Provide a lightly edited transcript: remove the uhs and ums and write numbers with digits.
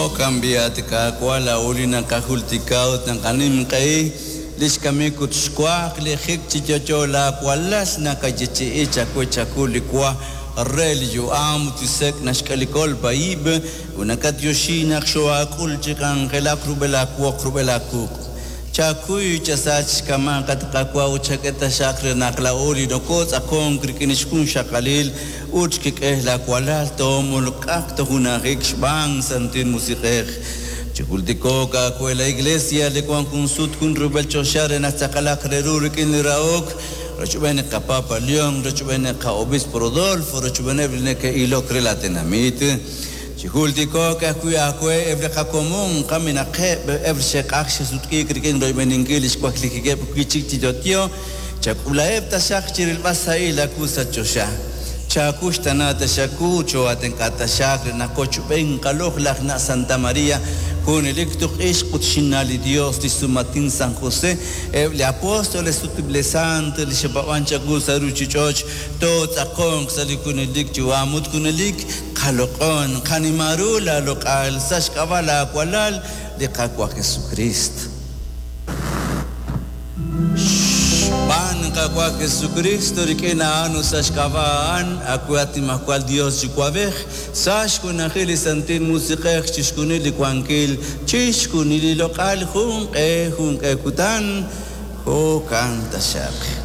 Jo'kan b'i', at Qaawa', laa'o li naqajultika ut naqanimq'ehi li xkamik ut xwaklijik chi yo'yo laawalal, naqayeechi'i chawe chawu li wa re li yu'am ut li sek' naxk'e li kolb'a ib', ut nakatyoxi naq xoohaak'ul chi k'anjelak rub'el aawoq rub'el aawuq'. Chakuy chasach xkama' at Qaawa' ut chak'e taxaq re naq laa'o li nokootz'aqonk rik'in xjunxaqalil ut xkik'el laawalal toomolk'aq tojunajik xb'aan Santil Musiq'ej. Chijultiko'q aawe la Iglesia li wank jun sut jun rub'el choxa re naq tz'aqalaq re ru rik'in li rahok, rochb'een li qaPapa León, rochb'een li qa'Obispo Rodolfo, rochb'eeneb' li neke'ilok re la tenamit. Chijultiko'q ajwi' aawe eb' li qakomon kamenaqeb', eb' li xe'q'ajk xe'sutq'iik rik'in royb'eninkil li xwaklijikeb' wi' chik chi yo'yo, chak'ulaheb' taxaq chi rilb'al sahil aawu sa' choxa. Chaakuxtana taxaq wu, choo'aatenq'a taxaq re naq qochb'een qaloq'laj na' Santa María, junelik tuq'ixq ut xinna' li Dios, li xsumatin San José, eb' li apóstoles ut eb' li sant li xe'paab'ank chawu sa' ruuchich'och', tootz'aqonq sa' li junelik yu'am ut junelik qaloq'on, qanima ru laaloq'al sa' xk'ab'a' laawalal, li Qaawa' Jesukriist. Xb'aan Qaawa' Jesukriist rik'in a'an ut sa' xk'ab'a' a'an, aawe at Nimajwal Yos Yuwa'b'ej, sa' xjunajil li Santil Musiq'ej chixjunil li wankil, chixjunil li loq'al, junq'e junq'e kutan, jo'kan taxaq.